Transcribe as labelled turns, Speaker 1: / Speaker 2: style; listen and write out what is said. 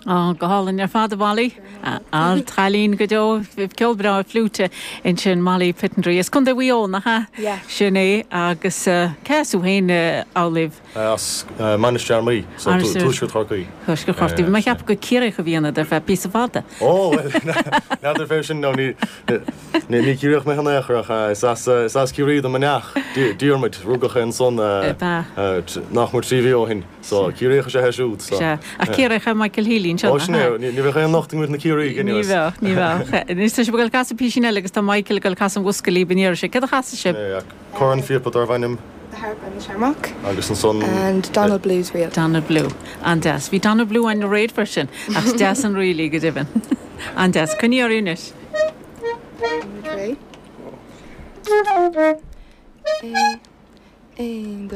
Speaker 1: Á, go hálainn ar fad, a Mholly. Ard-chailín go deo. Ceol breá fliúite ansin, Molly Pittendreigh. As Contae Mhaigh Eo, nach ea?
Speaker 2: Yeah.
Speaker 1: Sin é. Agus cé as thú féin, Amhlaoibh?
Speaker 3: As Mainistir Fhear Maí, so Tuaisceart Chorcaí.
Speaker 1: Tuaisceart Chorcaí. Bhí mé ag ceapadh gur Ciarraíoch a bhí ionat ar feadh píosa fada.
Speaker 3: Ó, bhuel, n'fheadar fé sin, nó ní Ciarraíoch mé in aon chor, ach is as Ciarraí do mo neach, Diarmuid, rugadh é ansan nach mór 3 mhí ó shin. So, Ciarraíoch is ea é siúd, so.
Speaker 1: Sea. Ach Ciarraíoch é Michael Healy anseo,
Speaker 3: nach ea? Ó, sin é. Ní bheadh aon locht i gcoinne na Ciarraígh,
Speaker 1: anyways. Ní bheadh, ní bheadh. Anois tá sibh ag dul ag casadh písín eile agus tá Michael ag dul ag casadh an bhosca libh an iarraidh seo. Céard a chasfaidh sibh?
Speaker 3: Sin é, cornphíopa darbh ainm.
Speaker 2: The Harp and the Shamrock.
Speaker 3: Agus ansan.
Speaker 2: And Donald Blue's Reel.
Speaker 1: Donald Blue. An-deas. Bhí Donald Blue againn aréir freisin, ach is deas an ríl í go deimhin. An-deas. Coinnigh oraibh anois.
Speaker 2: Muid réidh. 1, 2.